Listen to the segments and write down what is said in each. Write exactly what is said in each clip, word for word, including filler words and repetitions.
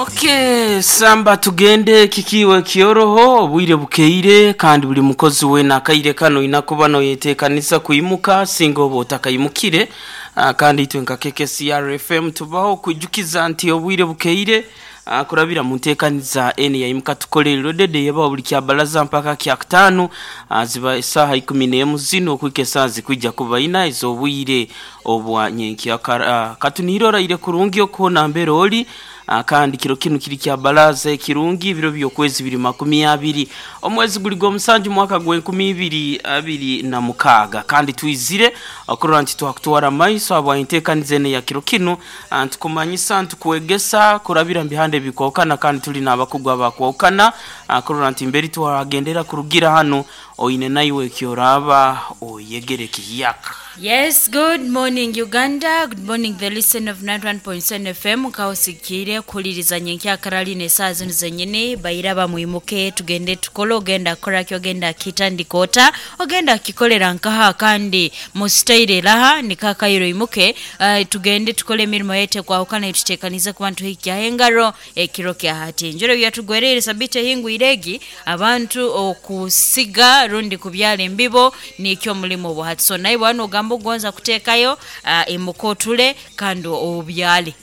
Okay, samba tugende kikiwe kioroho obwire bukeire kandi buli mukozi wena akaire kano inakuba noyetekanisa kuimuka singa oba otakayimukire. uh, kandi itwe nka K K C R F M tubaho kwijukiza nti obwire bukeire uh, kurabira mu nteekaniza eni yaimuka tukolere dede yaba buli kyabalaza mpaka kya kutano, uh, ziba isaha ikumi n'emu zino okuika esaha zikwijja kuba ina ez'obwire obwa nyenkya. uh, katunirora kurungi okuhona mbere oli. Uh, kandi kiro kinu kiri kya balaza ekirungi ibiro by'okwezi biri makumi abiri omwezi guli gw'omusanju mwaka gw'enkumi ibiri abiri na mukaaga kandi twizire okurora nti twakutwara maiso abwa enteekaniza ene ya kiro kinu, uh, ntukumanyisa ntukwegesa kurabira mbihande bikwawukana kandi tuli n'abakugu abakwawukana, uh, kurora nti mberi twagendera kurugira hano oine naiwe ekyoraba oyegere kihiyaka. Yes, good morning Uganda. Good morning the listener of ninety-one point seven F M. Kausikire kuliriza nyenkya karali ne saa zino zenyene bayiraba muimuke tugende tukolo ogenda kola kyo ogenda kitandikota ogenda kikolera nkaha kandi mustaire raha nikakayiro imuke, uh, tugende tukole emirimo yete kwa ukana tutekanize ku bantu hiki engaro ekiro kya hati njoro byatugwerere sabite hingu iregi abantu okusiga rundi kubyala embibo nikyo mulimo bwa hati so naye bwana ogamba ogonza kutekayo uh, imukotule kandi obyale.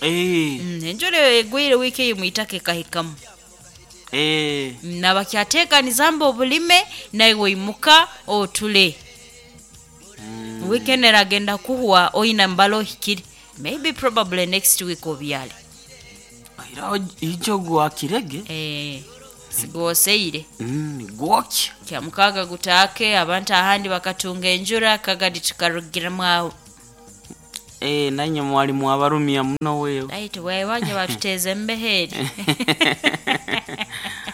Eh. Mm, enjole egwire wiki muitake kahikamu. Eh. Nabakyateka nizamba obulime nawe imuka otule. Mm. Weekend eragenda kuhuwa oina mbalo hikiri. Maybe probably next week obyale. Aira ijo gwa kirege? Eh. Sigoseire. Mm, gwokya. Kya mukaga gutake abantu ahandi bakatunga enjura kagadi tukarugira aho. Eh, nanye mwalimu abarumia muno wewe. Right, wewe waje batuteze mbeheri.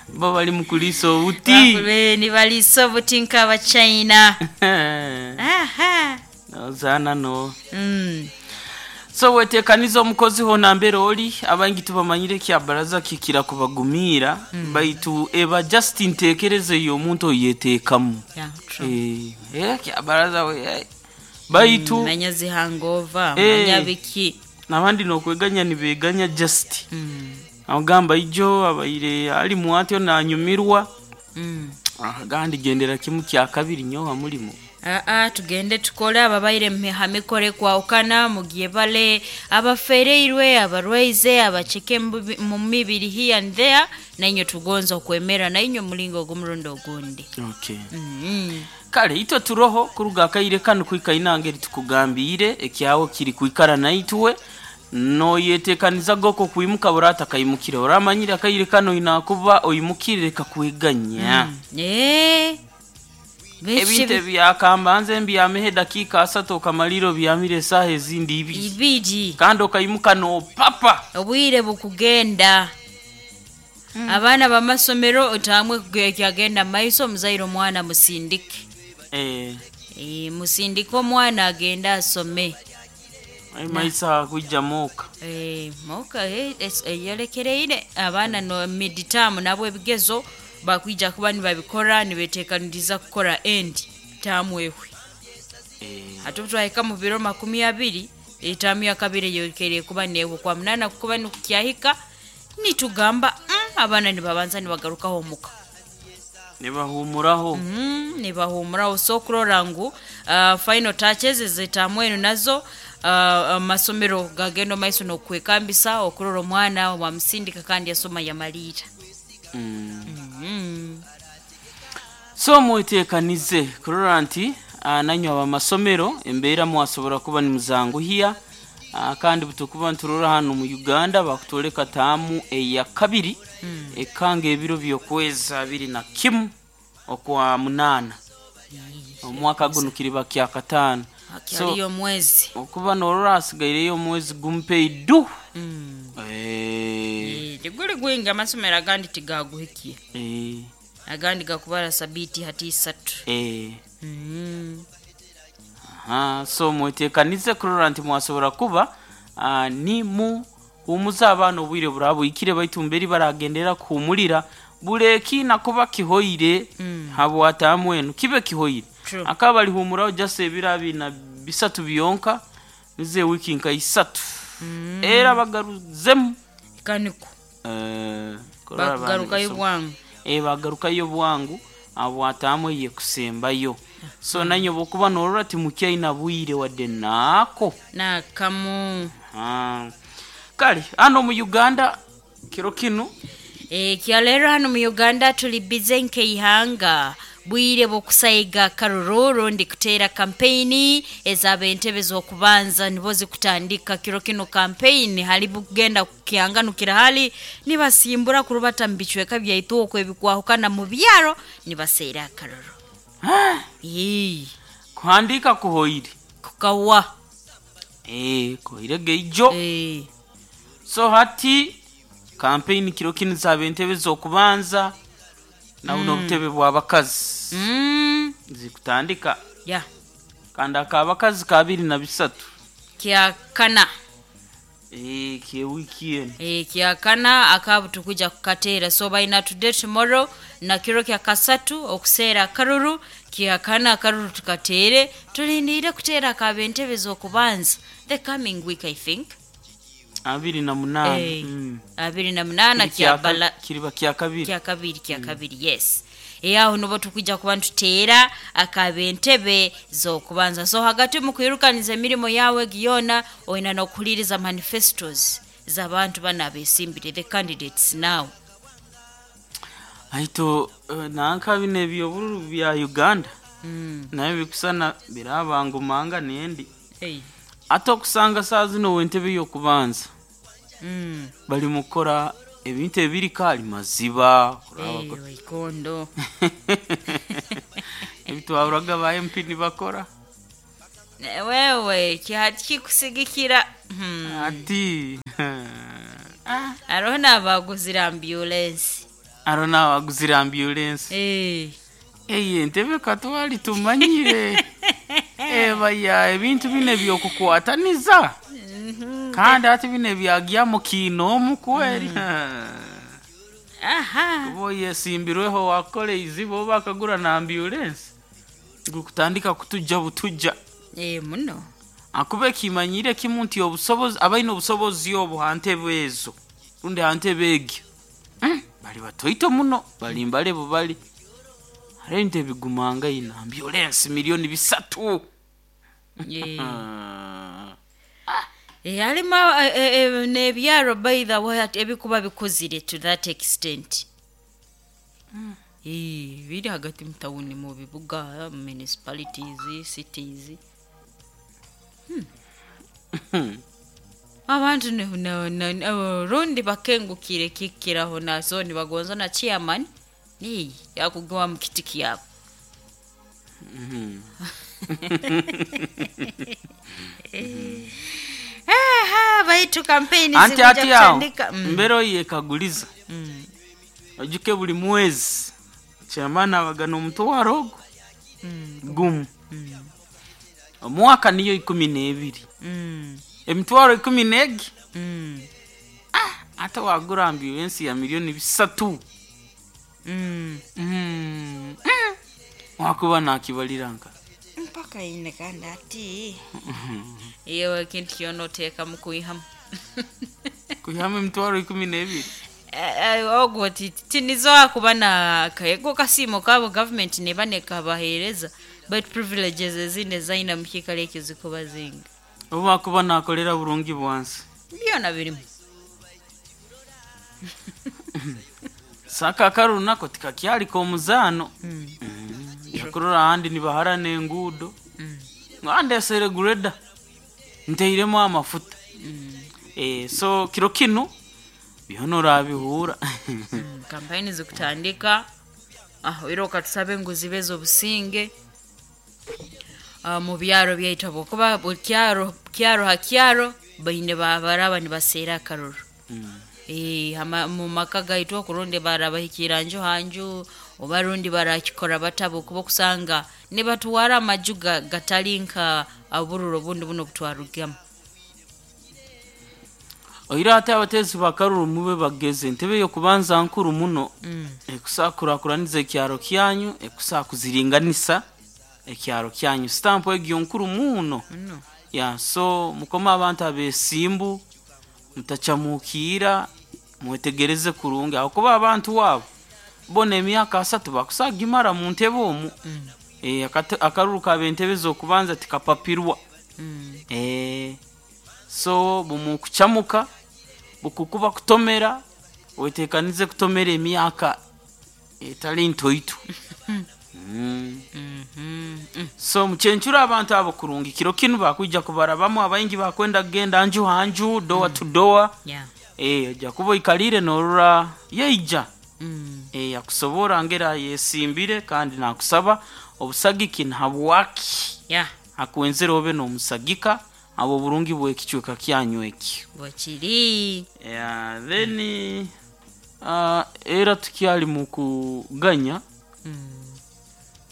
Bo bali mukuliso uti. Bakube ni baliso buti nkaba China. Aha. Ozana no. Mm. So wetekaniza omukozi hona mbere oli abangi tubamanyire kya baraza kikira kubagumira, mm. baitu eba just ntekereze yo omuntu oyetekamu. Yeah, true. Eh, eh kya baraza we. Eh. Baitu mm, manya zihangova, eh, manya biki. Nabandi nokweganya nibeganya just. Mm. Agamba ijo abaire ali muatyo nanyumirwa. Mm. Ah, gandi gendera kimu kya kabiri nyoha mulimo. Aa, tugende tukole ababaire mmihamikore kwa ukana mugiye bale abafereirwe abarwaize abacheke mu mibiri here and there nainyo tugonza okwemera nainyo mulingo ogumurundo ogundi. Okay. Mm -hmm. Kale ito turoho kuruga akaire kanu kwika inangeri tukugambire ekyawo kiri kwikara naitwe no yetekaniza goko kuimuka burata kayimukire oramanyira akaire kano inakuba oyimukire kakweganya. Mm. Eh. Ebinte byakambanze mbyamehe dakika asatu kamaliro byamire saha ezindi ibiri. Ibiri. Kando kayimuka no papa. Obwire bukugenda. Mm. Abaana bamasomero otamwe kyagenda maiso muzairo mwana musindike. Eh. Eh, musindike omwana agenda asome. Ai maisa kujja moka. Eh, moka eh eyolekereire abaana no midterm nabo ebigezo bakwija kuba nibabikora nibetekaniriza kukora end tamu ehwe. Eh. Ate twahika mu biro makumi abiri etamu ya kabiri yokereye kuba neho kwa munana kuba nukyahika nitugamba mm, abana nibabanza nibagarukaho muka. Nibahumuraho. Mm, nibahumuraho so kurora ngu uh, final touches zetamu eno nazo uh, masomero gagendo maiso no kwekambisa okurora omwana wa musindika kandi asoma yamalira. Mm. Mm. So mwetekanize kurora nti uh, nanyo abamasomero embeera mwasobora kuba ni muzanguhiya, uh, kandi butukuba nturora hano mu Uganda bakutoleka tamu eya kabiri, mm. ekanga ebiro byokweza abiri na kimu okwa munana omwaka guno kiriba kya katano so mwezi okuba norora asigaireyo omwezi gumpeidu. Mm. Eh. Teguli gwinga amasomero agandi tigaguhikiye. Eh. Agandi gakubara sabiti hati isatu. Eh. Mm. Aha, so mwetekanize kurora nti mwasobora kuba uh, ni mu humuza abana obwire burabuyikire baitu mberi baragendera kuhumulira bureki nakuba kihoire, mm. habwatamwenu kibe kihoire. True. Akaba bali humuraho just ebirabi na bisatu biyonka nize wiki nka isatu. Mm. Era bagaruzemu Kaniko Eh, kurora abaana bagarukayo basoma. bwangu. Eh, bagarukayo bwangu abwatamu eye kusembayo. So nanye bwokuba norora timukyaina bwire wadde naako. Nakamu. Ah. Kale hano mu Uganda kiro kinu. E, kyaleero hano mu Uganda tuli bize nk'eihanga bwire bw'okusaiga karururu ndi kuteera kampeyini ezaba entebe z'okubanza nibo zikutandika kiro kino. Kampeyini hali bugenda kukianganukira hali nibasimbura kurubata mu bicweka byaitu okwo ebikwahukana mu byaro nibaseera akaruru. Ii, kuhandika kuhoire. Kukawa. Eh, kuhoire geijo. Eh, So hati kampeyini kiro kinu zaba entebe z'okubanza nabuno obutebe bw'abakazi mm, zikutandika. Ya. Kandi akabakazi kabiri na bisatu. Kyakana. Eh, kyewiki eno. E, kyakana akabu tukuja kukateera. So baina today, tomorrow na kiro kya kasatu okuseera akaruru. Kyakana akaruru tukateere, tulindiire kuteera akaba entebe z'okubanza the coming week, I think. Abiri na munaana. Eh, Mm. abiri na munaana. Kiri kyaka- Kyabala. Kiriba kyakabiri. Kyakabiri, kyakabiri, yes. Eyaho nibo tukujja kuba ntuteera akaba entebe z'okubanza. So hagati mu kwirukaniza emirimu yawe giyona oyina n'okuhuliriza manifestos z'abantu bano abesimbire, the candidates now. Aito eh, nanka bino ebyobululu bya Uganda Mm. naye bikusana birabangumanga nendi Hey. ate okusanga saa zino wentebe y'okubanza Mm. bali mukora ebintu ebiri kaali maziba. Hey, waikondo. Ebitwaburaga ba M P nibakora. Ne- wewe kikusigikira. Hmm. Ati Hariho n'abaguzire ambulance. Aro nawaguzira ambulance. Eh. Eyi entebe katwali tumanyire ebaya ebintu bino ebyokukwataniza kandi ati bino ebyagyamu kiinoomu kweri. Aha. Kuba oyesimbirweho wakora eizibu oba akagura na ambulance gukutandika kutujja butujja. Eh, muno. Akuba ekimanyire kimu nti obusobozi abalina obusobozi obwo ha ntebe ezo rundi ha ntebe egyo, Mm, bali batoito muno bali mbale bali hariho ebintu ebigumanga ina ambulance miliyoni bisatu. Eh. Ah. Eh, halimu eh, eh, eh, n'ebyaro by the way ati ebikuba bikuzire to that extent. Eh, biri hagati mu tawuni, mu bibuga, municipalities, cities. Hmm. Abantu ne- ne- ne- ne- rundi bakengukire kikiraho naso nibagonza na chairman niyi yakugawa mu kiti kyabo. Aha, baitu kampeni Anti zikuja ati awo kutandika. Mm. mbere oyekaguliza Mm. ojuke buli mwezi chairman abagana omutwaro ogwo Mm. gumu. Mm. Omwaka niyo ikumi n'ebiri. Mm. Emitwaro ikumi n'egi. Mm. Ate wagura ambulensi ya miliyoni bisatu. Mm. Mm. Mm. Wakuba nakibalira nka Mpaka ine kandi ati iyo ekintu kyona oteekamu kwihamu. Kuihamu emitwaro ikumi n'ebiri. Eh, eh, ogwo ti- tinizoa kuba na kaego kasiimo kabo gavumenti neba nekabaheereza, but privileges ezindi ezayina mukiikaro ekyo zikuba zinga. Oba wakuba nakolera burungi bwansi. Byona birimu. Saka akarunako tikakyaliko omuzaano. Mm. Yakurora ahandi nibaharana enguudo. Mm. Ngandesere grader nteiremu amafuta. Mm. Eh, so kiro kinu byona orabihura. Mm, kampeyini zikutandika ah, era okatusabe ngu zibe z'obusinge. Ah, mu byaro byaitu habwokuba buli kyaro kyaro ha kyaro baine babaraba nibaseera akaruru. Eh, hama- mu maka gaitu okurundi barabahikira nju hanju oba rundi barakikora batabo kuba okusanga nibatuwara amaju ga- gatali nka obururo obundi buno obutwarugamu. Oira ate abateezi bakaruru mube bageze entebe y'okubanza nkuru muno. Mm. Ekusaakurakuraniza ekyaro kyanyu, ekusakuziringanisa ekyaro kyanyu, stampu egyo nkuru muno. Muno. Ya, so mukome abantu abesimbu mutachamukiira. Mwetegereze kurungi ahakuba abantu wabo bona emyaka asatu bakusagimara mu ntebe omu. Mm. Eh, akate- akaruru kabentebe z'okubanza tikapapirwa. Mm. Eh, so bumukucamuka bukukuba kutomera, wetekanize kutomera emyaka etali ntoito. mm. Mhm. Mm. So mucyencura abantu abo kurungi kiro kinu bakwija kubarabamu, abaingi bakwenda kugenda nju hanju, doa to doa. Yeah. Eh, ojja kuba oikalire norora yeija. Mm. Eh, akusobora ngera yesimbire kandi nakusaba obusagiki nhabwaki Yeah. akwenzere obe n'omusagika abo burungi bw'ekicweka kyanyu eki. Bwekiri. Yeah, then uh, era tukyali mu kuganya. Mm.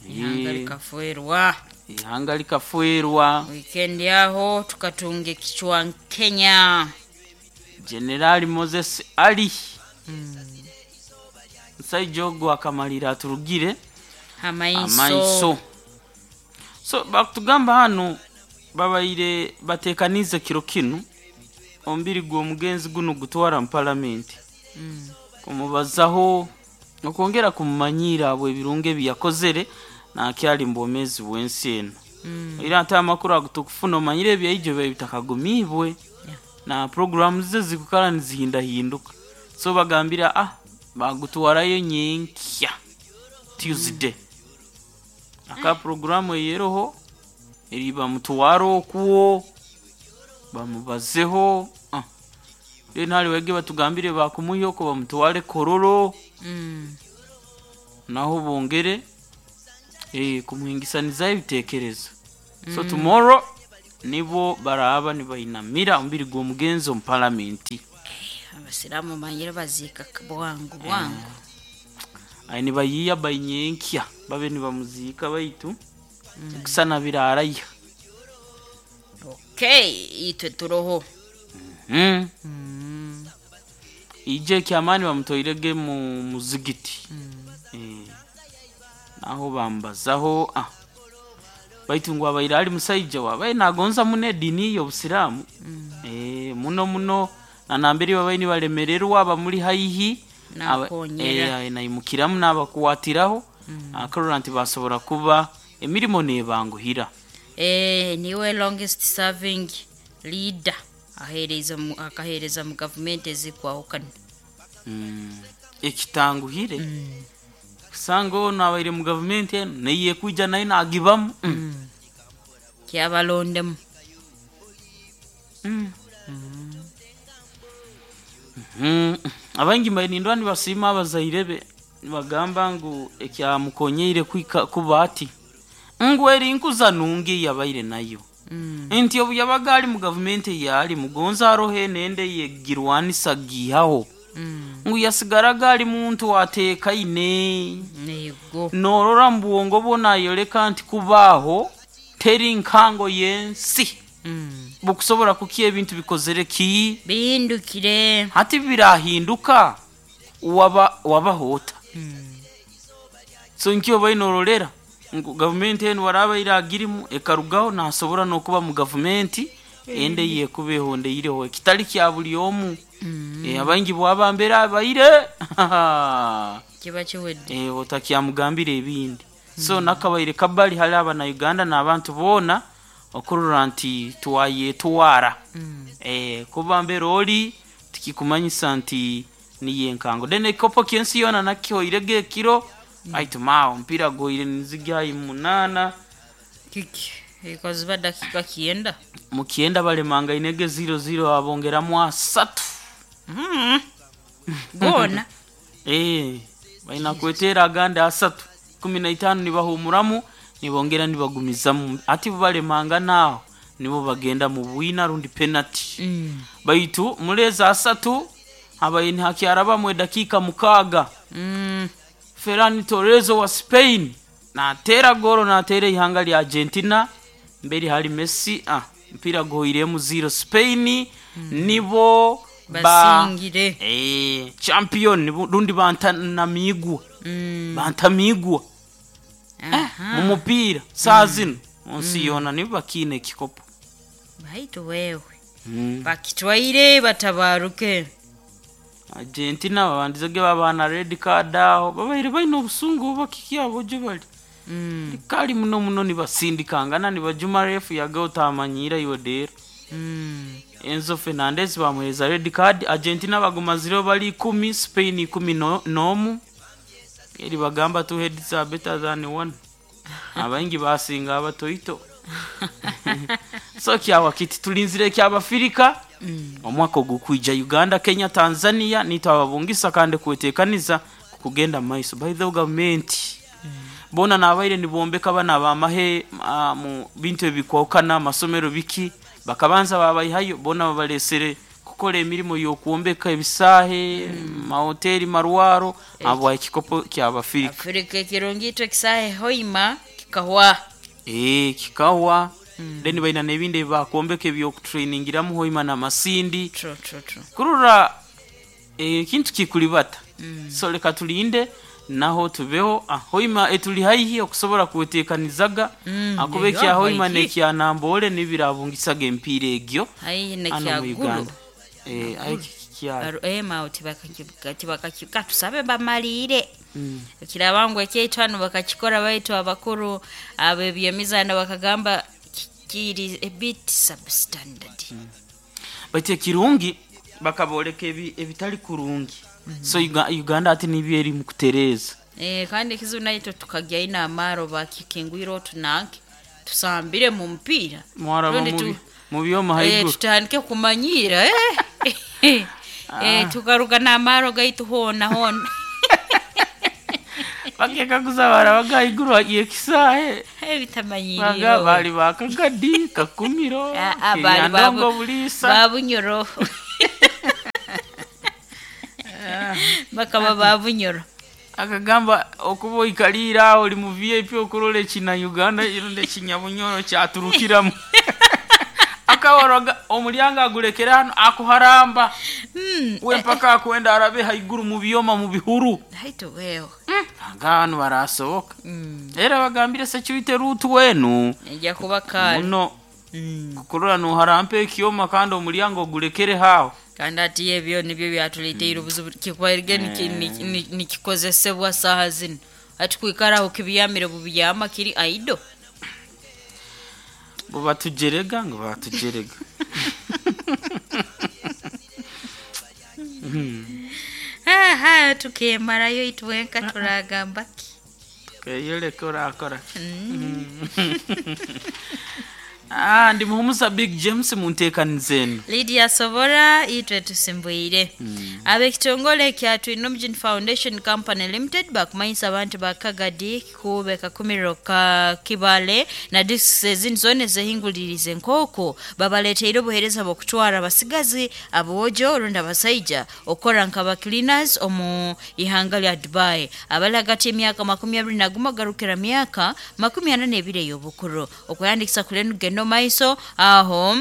Ihanga likafuerwa. Ihanga likafuerwa. Weekend yaho tukatunga ekichwa Kenya. Generali Moses Ali. Mm. Musaija ogwo akamalira aturugire Amaiso. amaiso. So bakutugamba hano babaire batekanize kiro kinu omubiri gw'omugenzi guno gutwara mu palamenti Mm. kumubazaho okwongera kumumanyira abo ebirungo ebi yakozere nakyali mu bwomeezi bw'ensi eno. Mm. Era ate amakuru ago tukufuna omanyire ebyaijo byawe bitakagumiibwe. Yeah. Na programu ze zikukala nizihindahinduka, so bagambira ah bagutwarayo nyenkya Tuesday. Aka programu eyeroho eri bamutwara okuwo bamubazeho. Ah. Then hali wege batugambire bakumuhyoko bamutware Kororo. Mm. Naho bongere eh, kumuhingisanizaho ebitekerezo. So tomorrow nibo baraba nibainamira omubiri gw'omugenzi omu palamenti. Abasiramu manyire baziika bwangu bwangu. Ayi nibayiiya bainyenkya babe nibamuziika baitu kusana biraraya. Okay, itwe turoho. Mm. Mm. Ije ekyamaani bamutoirege mu muzigiti. Mm. Eh, naho bambazaho ah. Baitu ngu abaire ali musaija wabaye nagonza muno edini y'obusiraamu. Mm. Eh, muno muno nanambere babaye nibalemererwa abamuli haihi aba- Nakonyera. eh, naimukiramu nabakuwatiraho. Mm. Akarora nti basobora kuba emirimo nebanguhira. Eh, niwe longest serving leader ahereza mu, akahereza mu gavumenti ezikwahukana. Mm. Ekitanguhire Mm. kusanga ono abaire mu gavumenti eno neye kwija naye nagibamu. mm. Mm. Kyabalondemu. Mm. Mm. Abaingi mbainindwa nibasiima abazaire be nibagamba ngu ekyamukonyeire kwika kuba ati ngu eri nkuza nungi eyabaire nayo. Mm. Nti obu yabaga ali mu gavumenti eyali mugonza aroho enende yegirwanisa giihaho. Mm. Ngu yasigaraga ali muntu ateekaine. Nego. Norora mu bwongo bwo nayoleka nti kubaaho teri nkango y'ensi. Mm. Bukusobora kuki ebintu bikozere ki Bihindukire. hati birahinduka waba wabahoota. Mm. So nkyo bainorolera ngu gavumenti enu waraba iragirimu ekarugaho nasobora n'okuba mu gavumenti ende yekubeho ndeireho ekitali kya buli omu. Mm. Eh, abaingi bwabambera abaire Kiba kiwedde. eh, otakyamugambira ebindi. So nakabaire kabali hali abana Uganda n'abantu boona okurora nti twayetwara. Mm. Eh, kuba mbere oli tikikumanyisa nti niye enkango then ekikopo ky'ensi yoona nakihoirege ekiro. Aitu maawe omupiira gwoire nizigyayi munaana. Kiki ekaziba dakika kienda. Mukyenda balemanga ziro ziro abongeramu asatu. Mm. Gona. Eh, balina kwetera agandi asatu kumi na itaano nibahumuramu nibongera nibagumizamu ati bubalemanga naaho nibo bagenda mu bwina rundi penalty. Mm. Baitu mulezi asatu abaye nihakyarabamu edakiika mukaaga. Mm. Ferran Torres wa Spain natera goro natera ihanga lya Argentina mbere hari Messi. Ah, mpira goiremu zero Spain. Nibo ba Basingire. eh, champion nibo- rundi bantanamigwa. Mm. Bantamigwa Aha. mu mupiira saa zino munsi yona nibo bakiina ekikopo. Baitu wewe. Mm. Bakitwaire batabaruke. Argentina babandizege babana red card aho babaire baine obusungu oba kiki abo gye bali Mm. kali muno muno nibasindikangana nibajuma refu yaga otamanyira iwe dero Mm. Enzo Fernandez bamuhereza red card. Argentina bagumazireho bali ikumi, Spain ikumi no- n'omu. Eri bagamba two heads are better than one. Abaingi basinga abatoito. So kyawa kiti tulinzire kyabafirika omwaka ogukwija Uganda, Kenya, Tanzania nitwe ababungisa kandi kwetekaniza kugenda maiso. By the way, government bona nabaire nibombeka bana bamahe uh, mu bintu ebikwokana amasomero biki bakabanza babayihayo bona babalesere kukola emirimu y'okwombeka ebisaahe, mahoteli, marwaro abo ekikopo kyabafirika. Afrika ekirungi itwe kisahe hoima kikahwa. Eh, kikawa then baina n'ebindi ebakwombeka ebyokutrainingiramu hoima n'amasindi True, true, true. kurura ekintu kikulibata. So leka tulinde naho tubeho. ah, hoima etuli haihi okusobola kwetekanizaga Mm, akuba eyo ekya hoima haihi. nekya Nambole nibirabungisaga empiira egyo Haihi ano mu nekyagulu. Uganda. Eh, ayi kikyali Baru- ema awo tibakakika tusabe bamalire kiraba ngu ekyaitu hano bakakikora baitu abakuru abebyemizaano bakagamba ki- kiri a bit substandard. Baitu ekirungi bakaboleka ebi- ebitali kurungi. So Uga- Uganda ati nibyo eri mu kutereeza. Eh, kandi ekizibu naitwe tukagya ina amaro bakikingwire otunanke tusambire mu mupiira Mwaraba Rundi tu- mubi mu byoma Eh, haiguru. tutandike kumanyira eh. Eh, tukaruga n'amaro gaitu hona hona. Bakekaguza barabaga haiguru yekisaahe Eh, bitamanyirire baga bali bakagadi Kakumiro Ah, ah, bali Kiryandongo babu- Buliisa. Babunyoro bakaba babunyoro. Akagamba okuba oikalire aho oli mu V I P okurora ekina Uganda ironde ekinyabunyoro kyaturukiramu. Akawaroga omulyango agulekera hano akuharamba we mpaka akwenda arabe haiguru mu byoma mu bihuru. Haitu wewe. Aga hano barasoboka era bagambire security route wenu Ejja kuba kale. muno kukurora noharampa ekyoma kandi omulyango ogulekere haho. Kandi ati ebyo nibyo byatuleteire obuzibu kikwairige nikikozesebwa saaha zino ati kwikaraho kibyamire bubyama kiri aido. Bo batujerega ngo batujerega. Aha tukemarayo itwenka turagamba ki. Keyoleka orakora. Ah, ndi muhumuza Big James munteekaniza eno. Lydia Sobora itwe tusimbwire. Ab'ekitongole kya Twinomujini Foundation Company Limited bakumanyisa abantu ba Kagadi kube Kakumiro ka Kibale na districts ezindi zona ezehingulirize nk'oku babaleteire obuheereza bw'okutwara abasigazi aboojo rundi abasaija okukora nka ba cleaners omu ihanga lya Dubai abali hagati y'emyaka makumi abiri na gumu garukira myaka makumi ana n'ebiri ey'obukuru okweyandikisa kule nugenda omaiso aho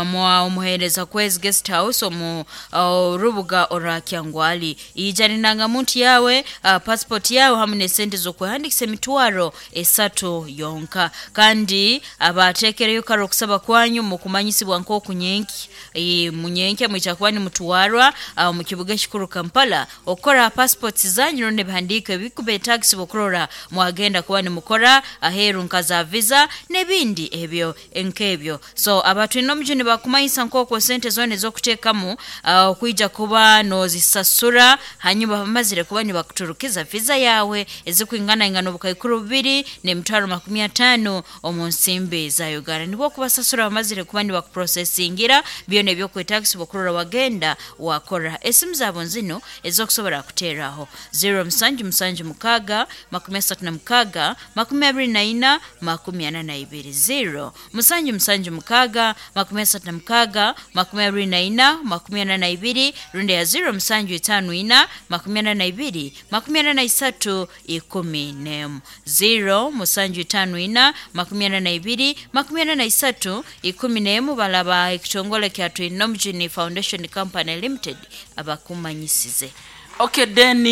mwa omuhereza kwezi guest house omu uh, rubuga orwa Kyangwali ijana indangamuntu yawe, uh, passport yawe hamwe n'esente z'okwehandikisa emitwaro esatu yonka kandi abateekereyo kare okusaba kwanyu mukumanyisibwa nk'oku nyenki e, munyenke mwija kuba nimutwarwa uh, mu kibuga ekikuru Kampala okukora passports zanyu rundi ebihandiiko ebikubetagisibwa okurora mwagenda kuba nimukora aheeru nka za visa n'ebindi ebyo nk'ebyo. So abatwine omujuni bakumanyisa nk'okwo sente zona ez'okuteekamu uh, okwija kuba nozisasura hanyuma bamazire kuba nibakuturukiza visa yawe ezikwinganaingana obukaikuru bubiri n'emitwaro makumi ataano omu nsimbi za Uganda nibwo okubasasura bamazire kuba nibakuprosesingira byona ebyokwetagisibwa okurora wagenda wakora. Esimu zaabo nzino ez'okusobola kuteeraho zero musanju musanju mukaaga makumi asatu na mukaaga makumi abiri na ina makumi ana na ibiri zero musanju musanju mukaaga makumi asatu na mukaaga makumi abiri na ina makumi ana na ibiri rundi ya zero musanju itaano ina makumi ana na ibiri makumi ana na isatu ikumi n'emu zero musanju itaano ina makumi ana na ibiri makumi ana na isatu ikumi n'emu balaba ekitongole kya Twinomujini Foundation Company Limited abakumanyisize. Okay, then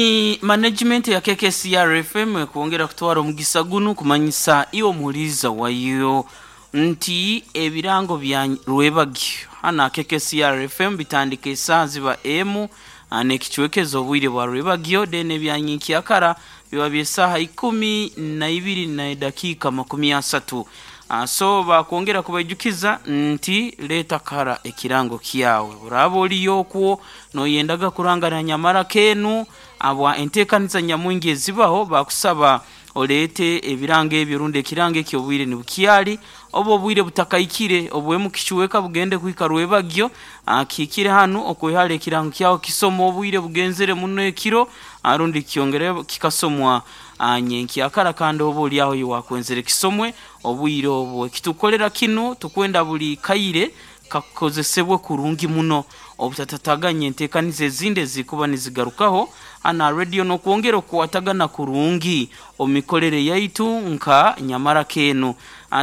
management ya K K C R F M kwongera kutwara omugisa guno kumanyisa iwe omuhuliza wayo nti ebirango bya Rwebagyo Hana K K C R F M bitandika esaa ziba emu n'ekichwekezo obwire bwa rwebagyo then ebyanyinkya biba by'esaaha ikumi na ibiri na dakiika makumi asatu. Uh, so bakwongera kubaijukiza nti leta kara ekirango kyawe buraba oliyo okwo noyendaga kurangana nyamara kenu abwa enteekaniza nyamwingi ezibaho bakusaba olete ebirango ebyo rundi ekirango ekyo obwire nibukyali oba obwire butakaikire obwemu kichweka bugende kuhika rwebagyo akikire hanu okwihara ekirango kyawe kisoma obwire bugenzere muno ekiro arundi kyongere kikasomwa nyenkyakara kandi oba oli aho wakwenzere kisomwe obwire obwo kitukolera kinu tukwenda buli kaire kakozesebwe kurungi muno obutatataganye enteekaniza ezindi ezikuba nizigarukaho ana radio nokwongera okuwatagana kurungi omikolere yaitu nka nyamara kenu.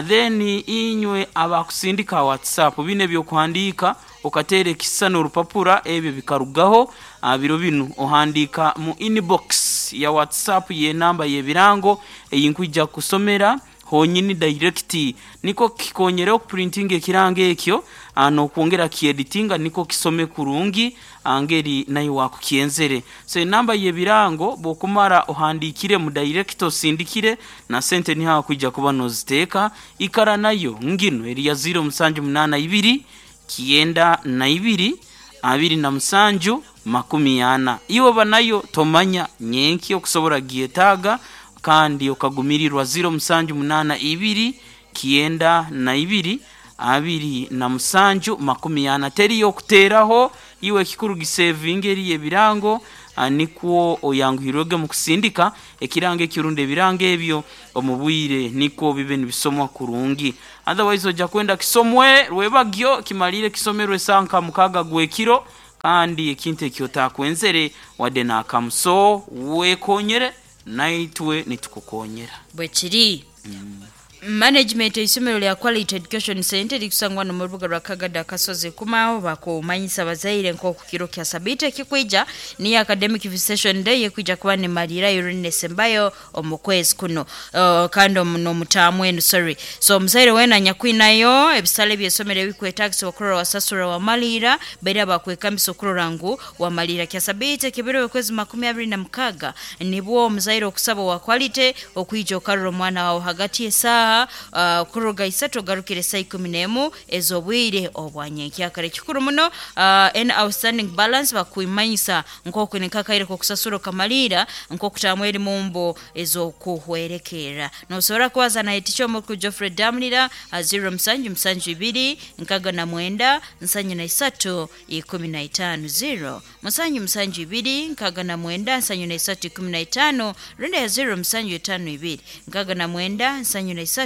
Then inywe abakusindika WhatsApp bine byokuhandika okatere ekisano orupapura ebyo bikarugaho biro binu ohandika mu inbox ya WhatsApp ye namba y'ebirango eyinkwija kusomera honyini direct niko kikonyere okuprinting ekirango ekyo nokwongera kieditinga niko kisome kurungi angeri nayo wakukienzere. So enamba y'ebirango bokumara ohandikire mu direct osindikire na sente ni hakuija kuba noziteka ikara nayo ngino eri ya zero musanju munana ibiri kienda na ibiri abiri na musanju makumi ana. Iwe banayo tomanya nyenki okusobora gietaga kandi okagumirirwa zero musanju munana ibiri kienda na ibiri abiri na musanju makumi ana. Teri yokuteraho iwe kikuru gisevinga eri ebirango nikwo oyanguhirwege mu kusindika ekirango ekirunde ebirango ebyo omubwire niko bibe nibisomwa kurungi. Otherwise ojja kwenda kisomwe rwebagyo kimalire kisomerwe sanka mukaga gwekiro kandi ekintu ekyo takwenzere wadde nakamuso wekonyere naitwe nitukukonyera bwekiri. mm. Management isomero lya Quality Education Center likusangwa no mu rubuga rwa Kagada Kasozi kumaho bakumanyisa bazaire nko ku kiro kya sabite kikwija ni academic visitation day yekwija kuba ne malira yorine sembayo omukwezi kuno uh, kandi omuno mutamu enu sorry so muzaire wena nyakwinayo ebisale byesomero bikwetagisa okurora wasasura wa malira bera bakwekamisa okurora ngu wa malira kya sabite kibiro kwezi makumi abiri na mukaga nibwo muzaire okusaba wa quality okwija okarora omwana wawe hagati esaha Uh, kuruga isato garukire saa ikumi n'emu ez'obwire obwanyenkyakare kikuru muno uh, en outstanding balance bakuimanyisa nk'oku nikakaire kokusasura okamalira nk'okutamu eri mumbo ez'okuhwerekera. Nosobora kubaza na eticho omuku Geoffrey Damlira zero musanju musanju ibiri nkaga na mwenda nsanyu na isatu ikumi na itano zero musanju musanju ibiri nkaga na mwenda nsanyu na isatu ikumi na itano runda ya zero musanju itano ibiri nkaga na mwenda nsanyu na isatu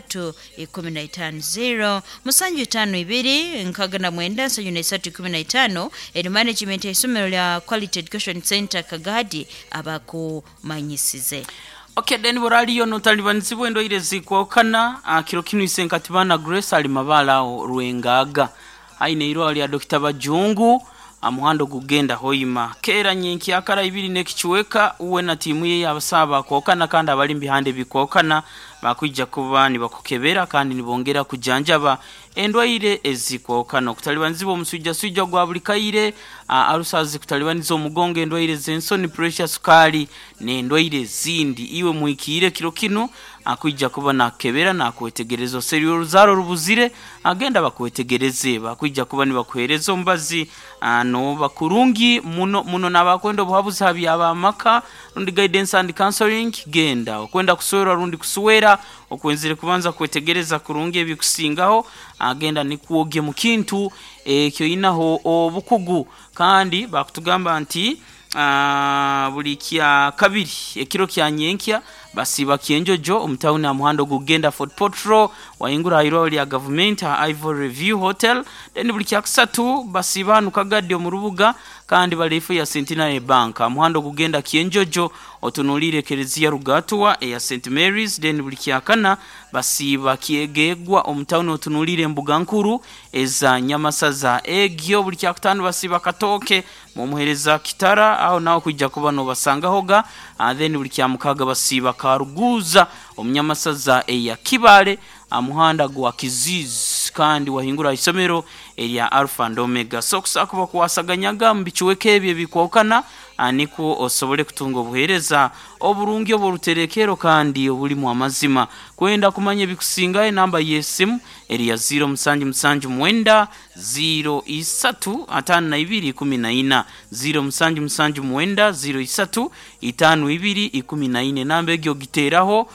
ikumi na itano zero musanju itano ibiri nkaga na mwenda nsanyu na isatu ikumi na itano. Eri management ya isomero lya Quality Education Center Kagadi abakumanyisize. Okay, then boraliyo notalibanizibwe endoire zikwokana kiro kinu isenkatibana Grace ali mabala aho rwengaga aine irwa lya Doctor Bajungu amuhando gugenda hoima kera nyenki akara ibiri nekichweka uwe na timu ye abasaba kwokana kandi abali mbihande bikwokana bakwija kuba nibakukebera kandi nibongera kujanjaba endwaire ezikwokana okutalibanizibwa omusujja sujja gwa buli kaire arusazi kutalibaniza omugongo endwaire z'ensoni pressure sukali n'endwaire zindi iwe muikire kiro kino akwijja kuba nakebera nakwetegereza oseri oruzaro rubuzire agenda bakwetegereze bakwijja kuba nibakuhereza ombazi no bakurungi muno muno nabakwenda obuhabuzi habyabamaka rundi guidance and counseling genda okwenda kuswera rundi kuswera okwenzire kubanza kwetegereza kurungi ebikusingaho agenda nikuoge mu kintu ekyo inaho obukugu kandi bakutugamba nti Uh, buli kya kabiri ekiro kya nyenkya basiba kienjojo omutawuni amuhando gugenda Fort Portal waingura irwa lya government Ivory Review Hotel then buli kya kusatu basiba nukagadi omurubuga kandi balifu ya Centenary Bank amuhando gugenda kienjojo otunulire kerezia rugatwa ya Saint Mary's then buli kya kana basiba kiegegwa omutawuni otunulire mbuga nkuru eza nyamasaza egyo buli kya kutano basiba katoke mumuhereza kitara aho naho kujja kuba no basangahoga then buli kya mukaga basiba karuguza omunyamasaza eya kibale amuhanda gwa kizizi Kandi wahingura isomero erya Alpha and Omega. So kusakuba kuwasaganyaga mu bicuweka ebyo ebikwawukana, niko osobole kutunga obuheereza oburungi obw'oruterekero kandi obulimu amazima. Kwenda kumanya ebikusingayo, enamba y'esimu eri ya ziro musanju musanju mwenda ziro isatu atano na ibiri ikumi na ina, ziro musanju musanju mwenda ziro isatu itano ibiri ikumi na ina. Enamba egyo ogiteeraho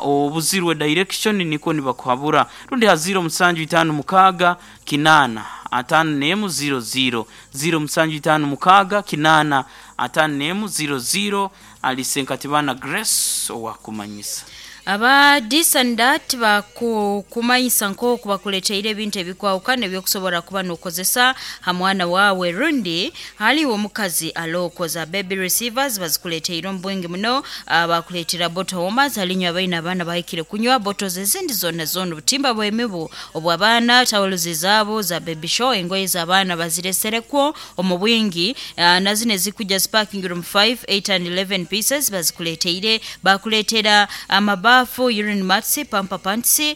obuzirwe direction, niko nibakuhabura. Rundi ha ziro musanju itano mukaaga kinaana atano n'emu ziro ziro, ziro musanju itano mukaaga kinaana atano n'emu ziro ziro. Alisenkatibana Grace owakumanyisa. Aba this and that bakukumanyisa nk'oku bakuleteire ebintu ebikwawukana ebyokusobora kuba n'okozesa ha mwana wawe rundi haliwo omukazi alookoza. Baby receivers bazikuleteire omu bwingi muno. Bakuleetera bottle warmers, halinywa abaina abaana bahikire kunywa, bottles ezindi zonna zonna, obutimba bw'emibu obw'abaana, towels zaabo za baby show, engoye z'abaana bazireserekwo omu bwingi, na zino ezikujja zipakingira omu five, eight and eleven pieces bazikuleteire. Bakuleetera amabafu, urine mats, pamper pants, uh,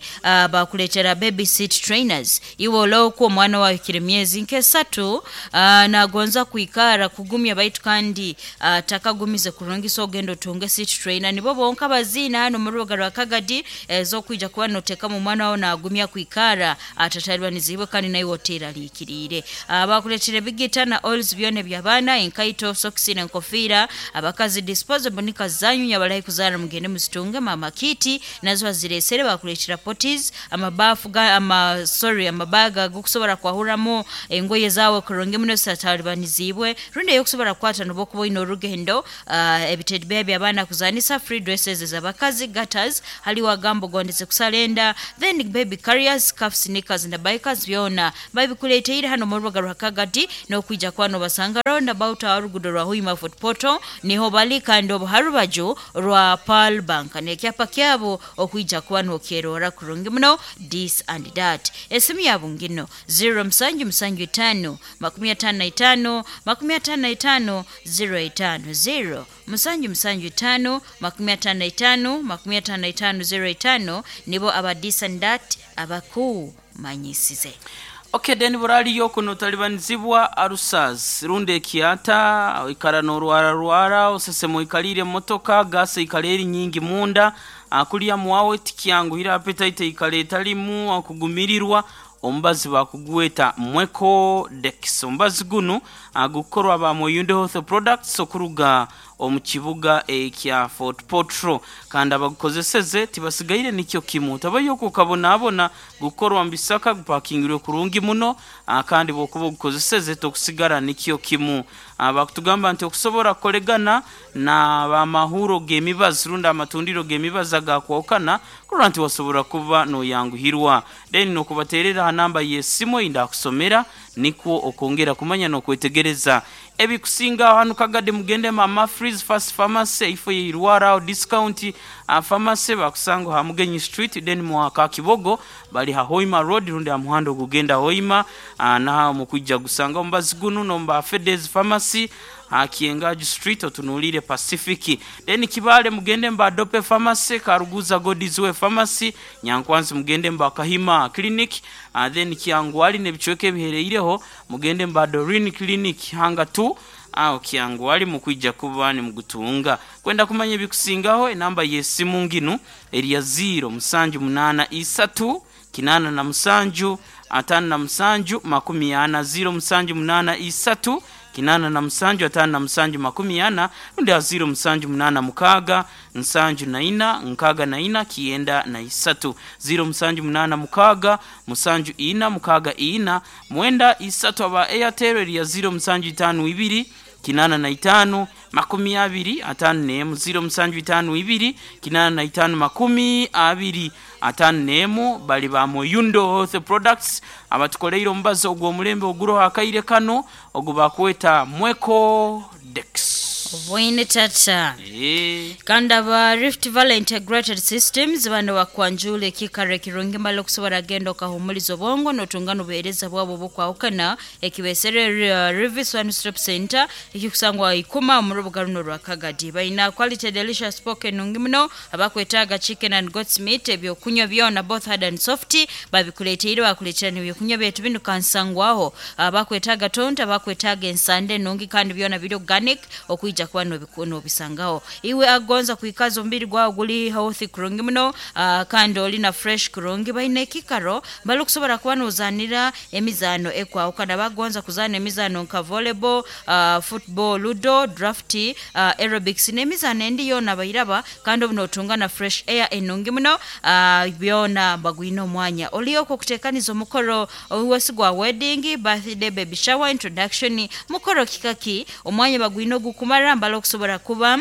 bakuleetera baby seat trainers. Iwe olooku omwana wawe emyezi nk'esatu, uh, nagonza kwikara kugumya baitu kandi uh, takagumize kurungi, so ogenda otunge seat trainer. Nibo bonka baziina hano mu rubuga rwa Kagadi ez'okwija kuba noteekamu omwana wawe nagumya kwikara atatalibaniziibwe kandi naiwe oteeraliikiriire. uh, bakuleetera ebigita na oils byona eby'abaana, enkaito, sokisi n'enkofiira. Abakazi, disposable nika zanyu nyabalahi kuzaara, mugende muzitunge. Mama kiti nazo bazireesere. Bakuleetera potties, amabafu ga ama sorry amabaga gokusobora kwahuramu engoye zawe kurungi muno zitatalibanizibwe, rundi eyokusobora kukwata noba okuba oine orugendo. uh, ebitedi by'abaana kuzanisa, free dresses ez'abakazi, gaiters, haliwo agambo gondeze kusala enda, then baby carriers, calf sneakers na bikers, byona babikuleteire hano mu rubuga rwa Kagadi. N'okwija kuba nobasanga round about aho rugudo rwa Hoima Fort Portal niho bali, kandi obu harubaju rwa Pearl Bank n'ekyapa kyabo okwija kuba nokyerora kurungi muno. This and that, esimu yabo ngino zero musanju musanju itano makumi atano na itano makumi atano na itano zero itano, zero musanju musanju itano makumi atano na itano makumi atano na itano zero itano. Nibo aba this and that abakumanyisize. Okay, then buraliyo kuno talibanizibwa arusaz rundi ekiata, ikara norwara rwara osesemo, ikalire motoka, gase ikala eri nyingi munda, akulya mwawe tikyanguhira, appetite ikala etalimu, akugumirirwa, omubazi bakugweta Mweko Dex. Omubazi guno gukorwa ba Muyundo Health Products okuruga omu kibuga ekya Fort Portal, kandi abagukozeseze tibasigaire nikyo kimu, tabayo kukabonaabona. Gukorwa mu bisaka, gupakingirwe kurungi muno, kandi bwokuba ogukozeseze tokusigara nikyo kimu. Bakutugamba nti okusobora kukolegana na bamahuro g'emibazi rundi amatundiro g'emibazi agakwawukana, kurora nti wasobora kuba noyanguhirwa. Then nokubaterera ha namba y'esimu eyindakusomera, nikwo okwongera kumanya n'okwetegereza ebikusinga. Hano Kagadi mugende Mama Freeze Fast Pharmacy, ifo yeirwara discount uh, pharmacy, bakusanga ha Mugenyi Street. Then mwaka Kibogo bali ha Hoima Road rundi ha muhanda ogugenda Hoima, uh, naha mukwijja gusanga omubazi guno. Nomba Fedes Pharmacy ha Kiengaju Street, otunulire Pacific. Then Kibale mugende mba Dope Pharmacy, Karuguza Godizwe Pharmacy, Nyankwanzi mugende mba Kahima Clinic, uh, then Kiangwali nebichweke ebihereireho mugende mba Dorin Clinic hanga tu aho Kyangwali, mukwijja kuba nimugutunga. Kwenda kumanya ebikusingaho, enamba y'esimu nginu eri ya ziro musanju munana isatu kinana na musanju atano na musanju makumi ana, ziro musanju munana isatu kinana na musanju atano na musanju makumi ana, rundi ha ziro musanju munana mukaaga nsanju na ina nkaaga na ina kienda na isatu, ziro musanju munana mukaaga musanju ina mukaaga ina mwenda isatu. Aba Airtel eri ya ziro musanju itano ibiri kinana na itano makumi abiri atano n'emu, ziro musanju itano ibiri kinana na itano makumi abiri atano n'emu. Bali ba Muyundo Health Products abatukoleire omubazi ogw'omulembe oguroho akaire kano ogu bakweta Mweko Dex. Obwoine tata. Eh. Kandi aba Rift Valley Integrated Systems bano bakwanjula ekikaro ekirungi mbali okusobora genda okahumuliza obwongo n'otunga n'obuheereza bwabo obukwahukana ekibesere uh, Rivis One Stop Center ekikusangwa ikuma mu rubuga runo rwa Kagadi. Balina quality delicious pork enungi muno, abakwetaaga chicken and goat's meat, ebyokunywa byona both hard and soft babikuleteire, bakuleetera n'ebyokunywa byaitu binu kansangwaho. Abakwetaaga tonto, abakwetaaga ensande enungi kandi byona biri organic okwija kuba n'obiku- n'obisangaho. Iwe agonza kwikaza omubiri gwawe guli healthy kurungi muno, uh, kandi oli na fresh kurungi, balina ekikaro bali okusobora kuba nozanira emizaano ekwahukana. Bagonza kuzaana emizaano nka volleyball, uh, football, ludo, draft, uh, aerobics n'emizaano endi yoona bairaba, kandi obu notunga na fresh air enungi muno. uh, byona bagwine omwanya olioko okutekaniza omukoro owesi gwa wedding, birthday, baby shower, introduction, mukoro kikaki, omwanya bagwine ogukumara mbala okusobora kuba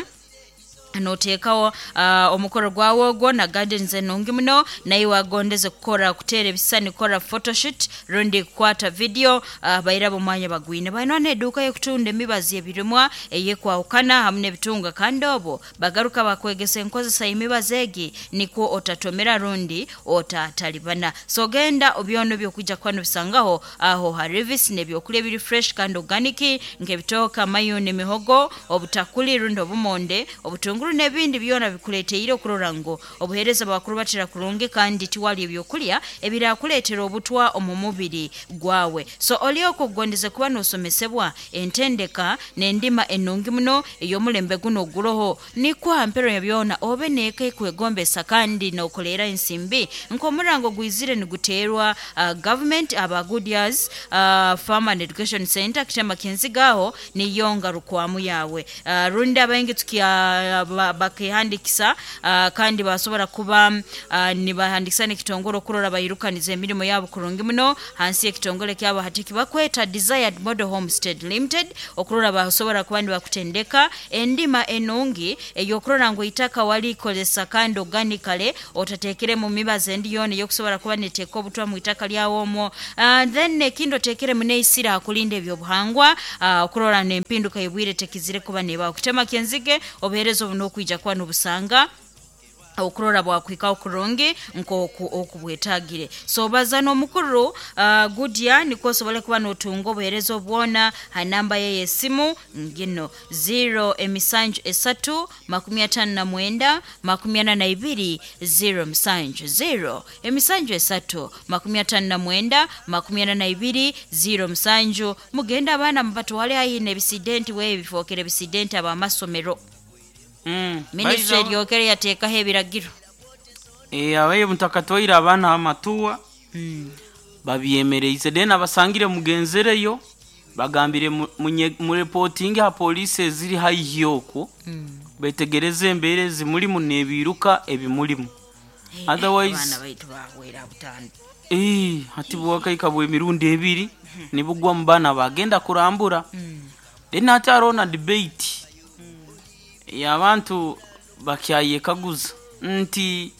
noteekawo uh, omukoro gwawe ogwo na gardens enungi muno. Naye wagondeze kukora kuteera ebisisani, kukora photoshoot rundi kukwata video, uh, bairaba omwanya bagwine. Balina n'edduuka y'okutunda emibazi ebirimwa eyekwahukana hamu n'ebitunga, kandi obwo bagaruka bakwegesa enkozesa y'emibazi egi nikwo otatomera rundi otatalibana. So genda obyona ebyokwija kuba nobisangaho aho ha Rivis, n'ebyokulya ebiri fresh kandi organic nk'ebitooke, amayuni, emihogo, obutakuli rundi obumonde, obutunguru n'ebindi byona bikuleteire okurora ngu obuheereza bwakurubatira kurungi kandi tiwali ebyokulya ebirakuleetera obutwa omu mubiri gwawe. So oli okugondeze kuba nosomesebwa entendeka n'endima enungi muno ey'omulembe guno oguroho, nikwo hampero ya byona obe neeka ekwegombesa kandi nokoleera ensimbi nk'omurango gwizire niguteerwa uh, government aba Goodyears uh, Farm and Education Center kitema kinzigaho niyo ngarukwamu yawe. uh, rundi abaingi tukia ba- bakehandikisa uh, kandi basobora kuba uh, nibahandikisa n'ekitongole okurora bairukaniza emirimu yabo kurungi muno hansi y'ekitongole kyabo hati kibakweta Desired Model Homestead Limited, okurora basobora kuba nibakutendeka endima enungi ey'okurora ngu itaka walikozesa kandi organically, otatekere mu mibazi endi yoona eyokusobora kuba neteeka obutwa mu itaka lyawe omwo. uh, then ekindi otekeremu neisira akulinda ebyobuhangwa, uh, okurora n'empinduka y'obwire tekizire kuba nebaho kutema kyenzige. Obuheereza obu n'okwija kuba nobusanga okurora bwakwikaho kurungi nk'oku okubwetagire. So baza n'omukuru uh, Goodyear nikwo osobole kuba notunga obuheereza obwona ha namba ye y'esimu ngino zero emisanju esatu makumi atano na mwenda makumi ana na ibiri zero musanju, zero emisanju esatu makumi atano na mwenda makumi ana na ibiri zero musanju. Mugende abaana mubatwale haihi n'ebisidenti wewe bifookere ebisidenti abamasomero. Mm. Minisitule Baiza- eryokere yateekaho ebiragiro. Eh, abaye mutakatwaire abaana amatuwa babyemereize, then abasangire mugenzereyo bagambire mu- munye- murepotinge ha polisi eziri haihi okwo, betegereze embeera ezimulimu n'ebiruka ebimulimu. Otherwise- abaana baitu bahwera butano. Eh, hati bwakaika bw'emirundi ebiri nibugwa mu baana bagenda kurambura. Then hati hariho na debate y'abantu bakyayekaguza nti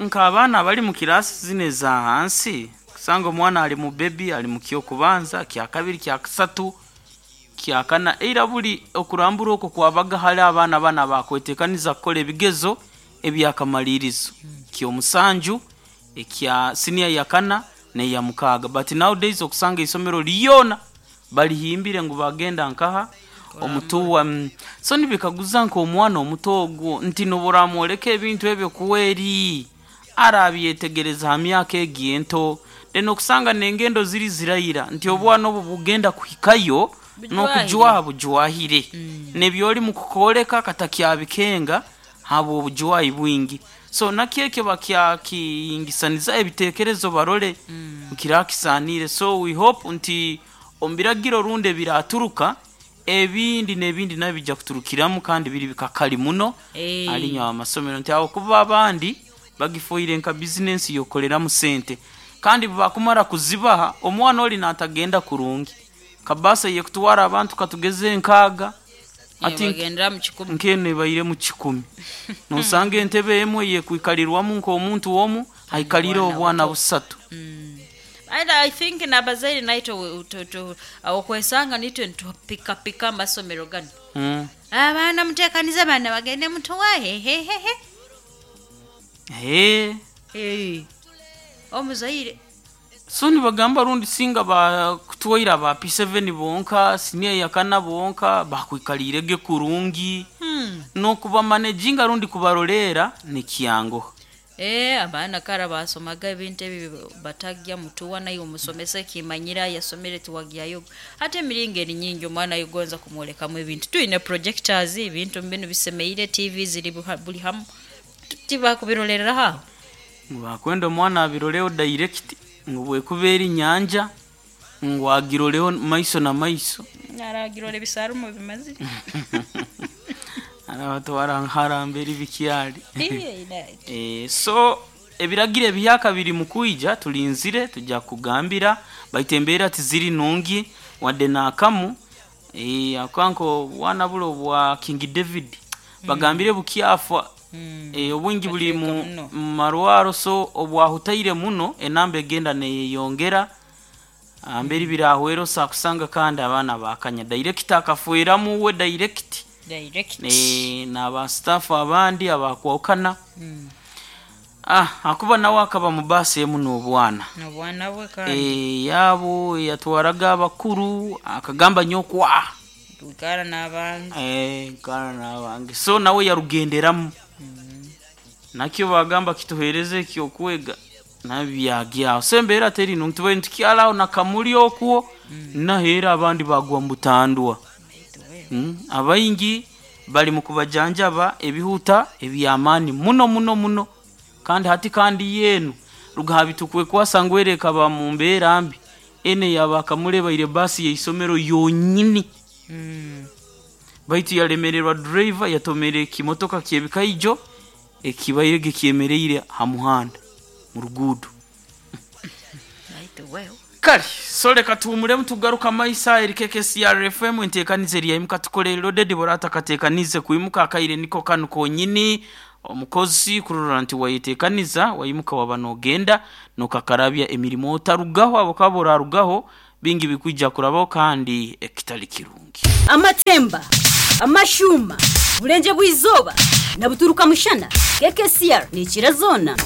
nk'abaana bali mu kirasi zino eza hansi, kusanga omwana ali mu baby, ali mu kyokubanza, kyakabiri, kyakasatu, kyakana, eira buli okurambura okwo kwabaga hali abaana bana bakwetekaniza kukola ebigezo ebyakamalirizo kyomusanju, ekya siniya yakana neya mukaaga. But nowadays okusanga isomero lyona balihimbire ngu bagenda nkaha omutuwa. mm. so nibikaguza nk'omwana omuto ogwo nti noburamwoleka ebintu ebyo kuweri arabyetegereza ha myaka egi ento, then okusanga nengendo ziri zirayira nti obwana obwo bugenda kuhikayo n'okujwaha bujwahire nebyoli mukukoleka katakyabikenga habwo obujwahi bwingi. So nakyekyo bakyakiyingisaniza ebitekerezo barole kirakisanire. So we hope nti omu biragiro rundi ebiraturuka ebindi n'ebindi nabyo bijja kuturukiramu kandi biri bikakali muno. Eh. Alinywa amasomero nti awo kuba abandi bagifoire nka bizinensi yokoleramu sente, kandi bakumara kuzibaha omwana oli natagenda kurungi kabasa yekutwara abantu katugeze nkaaga ati bagendera mu kikumi. Nkene ebaire mu kikumi, nosanga entebe emwe yekwikalirwamu nk'omuntu omu aikalire obwana busatu. And I think n'abazaire naitwe okwesanga nitwe nitupikapika amasomero gano. Mm. Abaana muteekanize abaana bagende mutuwa hehehehe. He. Hey. Omuzaire So nibagamba rundi singa bakutwaire ba P seven bonka senior yakana bonka bakwikalirege kurungi. Hmm. Nokuba managinga rundi kubarolera nikyango. Eh, abaana kara basomaga ebintu ebi batagya mutuwa naye omusomesa kimanyira yasomere tuwagyayo. Ate emiringo eri nyingi omwana yugonza kumwolekamu ebintu. Tuine projectors ebintu mbinu bisemeire T V ziri buli hamu. Tibakubirolerera haho. Bakwenda omwana abiroleo direct ngubwe kubera inyanja ngwagiroleo maiso na maiso. Aragirole bisarumo bimazire. Arabatwara harambere bikyali. Eh, so ebiragire ebyaka biri mukuija tulinzire tujja kugambira baitembera tiziri nungi wadde nakamu. Eh, akanko wana bulo bwa King David mm. Bagambire bukyafa. Mm. Eh, obwingi buli mu marwaro so obwahutaire muno enamba egenda neyongera amberi birahwero sakusanga kandi abana bakanya direct akafueramu we direct direct eh na ba staff abandi abakwokana. Mm. Ah, akuba nawe akaba mu basi emu n'obwana n'obwana bwe kandi eh yabo yatwaraga abakuru akagamba nyokwa tukara n'abange eh kana n'abange so nawe yarugenderamu. Mm. Nakyo bagamba kituhereze kyokwega nabyagya sembera teri ntuwe ntikyalao nakamuli okuo. Mm. Nahera abandi bagwa mbutandwa. Mm. Abaingi bali mukubajanjaba ebihuta ebyamani muno muno muno kandi hati kandi yenu rugabitukwe kwasangwereka ba mumbera mbi ene yabakamuleba ile basi ya isomero yonyini. Mm. Baitu yalemererwa driver yatomere kimotoka kyebikaijo ekibayege kyemereire ha muhanda mu rugudo. Right well. Kali sole katumule mtugaruka maisa eri K K C R F M entekanize eri yayimuka tukole loaded borata katekanize kuimuka akaire niko kanu konyini omukozi kurora nti wayitekaniza wayimuka wabanogenda nokakarabya emirimo otarugaho abo kabora rugaho bingi bikwijja kurabaho kandi ekitali kirungi. Amatemba, amashuma, bulenje bwizoba na buturuka mushana. K K C R ni kirazona.